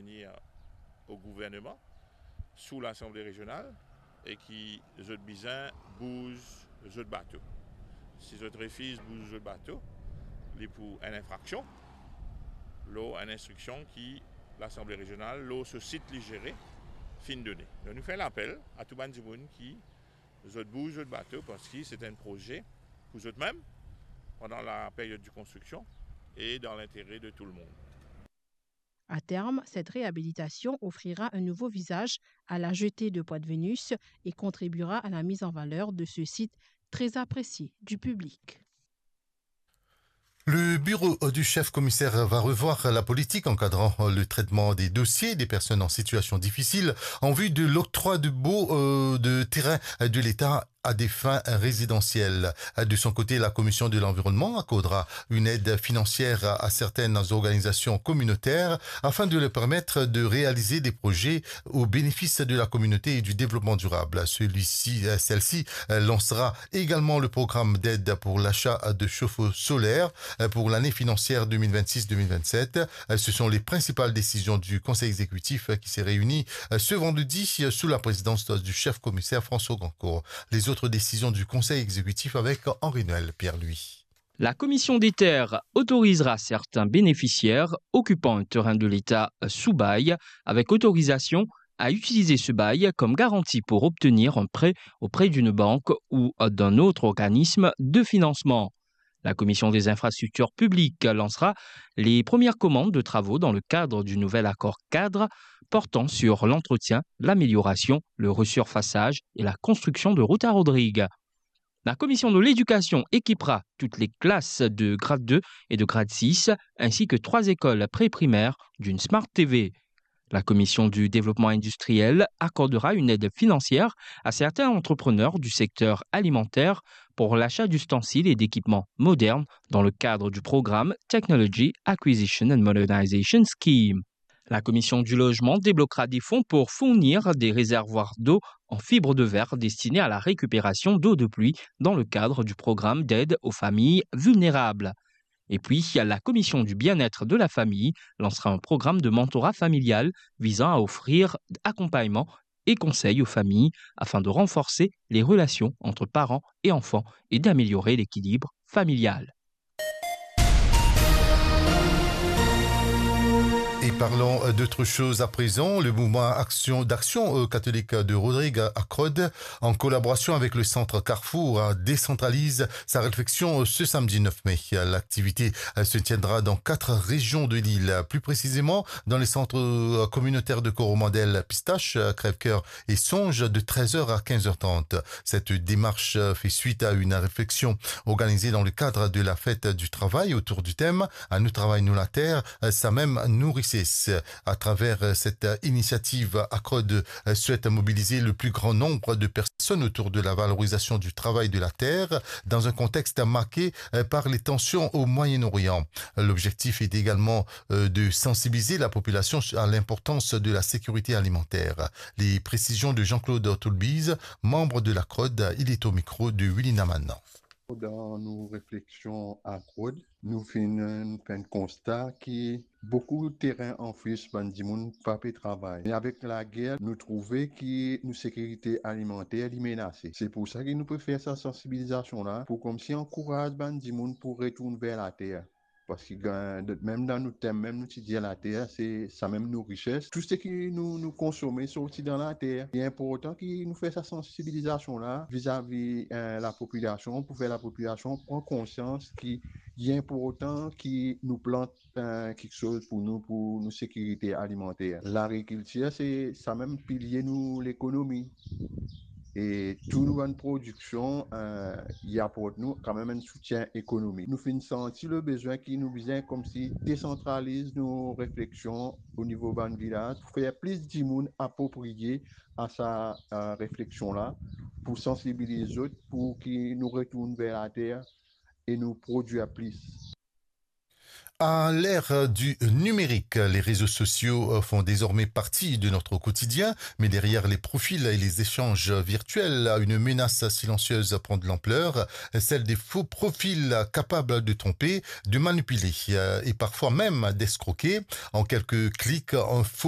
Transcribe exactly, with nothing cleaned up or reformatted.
Vini o gouverneman, sou Lasanble Rezional, e ki zot bizin bouz zot bato. Si zot refiz bouz zot bato, li pou enn infraksion lor enn instriksion ki Lasanble Rezional, lor so sit li zere, finn done. Donk nou fer lapel a tou bann dimoun ki zot bouz zot bato, parski se enn proze pou zot mem, pandan la period de konstriksion, e dan lintere de tou lemonn. À terme, cette réhabilitation offrira un nouveau visage à la jetée de Poix de Vénus et contribuera à la mise en valeur de ce site très apprécié du public. Le bureau du chef commissaire va revoir la politique encadrant le traitement des dossiers des personnes en situation difficile en vue de l'octroi de baux euh, de terrain de l'État à des fins résidentielles. De son côté, la Commission de l'environnement accordera une aide financière à certaines organisations communautaires afin de leur permettre de réaliser des projets au bénéfice de la communauté et du développement durable. Celui-ci, euh, celle-ci euh, lancera également le programme d'aide pour l'achat de chauffe-eau solaire euh, pour l'année financière deux mille vingt-six deux mille vingt-sept. Euh, Ce sont les principales décisions du Conseil exécutif euh, qui s'est réuni euh, ce vendredi euh, sous la présidence du chef commissaire François Gancourt. Les autres décisions du Conseil exécutif avec Henri-Noël Pierre-Louis. La Commission des terres autorisera certains bénéficiaires occupant un terrain de l'État sous bail avec autorisation à utiliser ce bail comme garantie pour obtenir un prêt auprès d'une banque ou d'un autre organisme de financement. La Commission des infrastructures publiques lancera les premières commandes de travaux dans le cadre du nouvel accord cadre portant sur l'entretien, l'amélioration, le resurfaçage et la construction de routes à Rodrigues. La commission de l'éducation équipera toutes les classes de grade deux et de grade six, ainsi que trois écoles pré-primaires d'une Smart T V. La commission du développement industriel accordera une aide financière à certains entrepreneurs du secteur alimentaire pour l'achat d'ustensiles et d'équipements modernes dans le cadre du programme Technology Acquisition and Modernization Scheme. La commission du logement débloquera des fonds pour fournir des réservoirs d'eau en fibre de verre destinés à la récupération d'eau de pluie dans le cadre du programme d'aide aux familles vulnérables. Et puis, la commission du bien-être de la famille lancera un programme de mentorat familial visant à offrir accompagnement et conseils aux familles afin de renforcer les relations entre parents et enfants et d'améliorer l'équilibre familial. Et parlons d'autre chose à présent. Le mouvement Action, d'Action euh, catholique de Rodrigues à Crode, en collaboration avec le centre Carrefour, euh, décentralise sa réflexion euh, ce samedi neuf mai. L'activité euh, se tiendra dans quatre régions de l'île, plus précisément dans les centres euh, communautaires de Coromandel, Pistache, euh, Crèvecoeur et Songe de treize heures à quinze heures trente. Cette démarche euh, fait suite à une réflexion organisée dans le cadre de la fête du travail autour du thème À nou travay nou later, samem nou rises. À travers euh, cette euh, initiative, Acrod euh, souhaite mobiliser le plus grand nombre de personnes autour de la valorisation du travail de la terre dans un contexte marqué euh, par les tensions au Moyen-Orient. L'objectif est également euh, de sensibiliser la population à l'importance de la sécurité alimentaire. Les précisions de Jean-Claude Toulbiz, membre de l'Acrod, il est au micro de Willy Namanan. Dan nou refleksion Acrod, nou finn fer enn konsta ki boukou teren an fris bann dimoun pa pe travay. Me avek lager, nou trouve ki nou sekirite alimanter li menase. Se pou sa ki nou pe fer sa sansibilizasion la, pou koumsi ankouraz bann dimoun pou retourn ver later. Parski gagn, mem dan nou tem, mem nou ti dir later, se samem nou rises. Tou seki nou, nou konsome sorti dan later. Li inportan ki nou fer sa sansibilizasion la vizavi eh, lapopilasion, pou fer lapopilasion pran konsians ki li inportan ki nou plant eh, kiksoz pou nou, pou nou sekirite alimanter. Lagrikiltir, se samem pilie nou lekonomi. E tou nou bann prodiksion, eh, li aport nou kanmem enn soutien ekonomik. Nou finn santi le bezwin ki nou bizin koumsi desantraliz nou refleksion o nivo bann vilaz pou fer plis dimoun apropriye a sa, eh, refleksion la, pou sansibiliz zot, pou ki nou retourn ver later e nou prodwir plis. À l'ère du numérique, les réseaux sociaux font désormais partie de notre quotidien, mais derrière les profils et les échanges virtuels, une menace silencieuse prend de l'ampleur, celle des faux profils capables de tromper, de manipuler euh, et parfois même d'escroquer. En quelques clics, un faux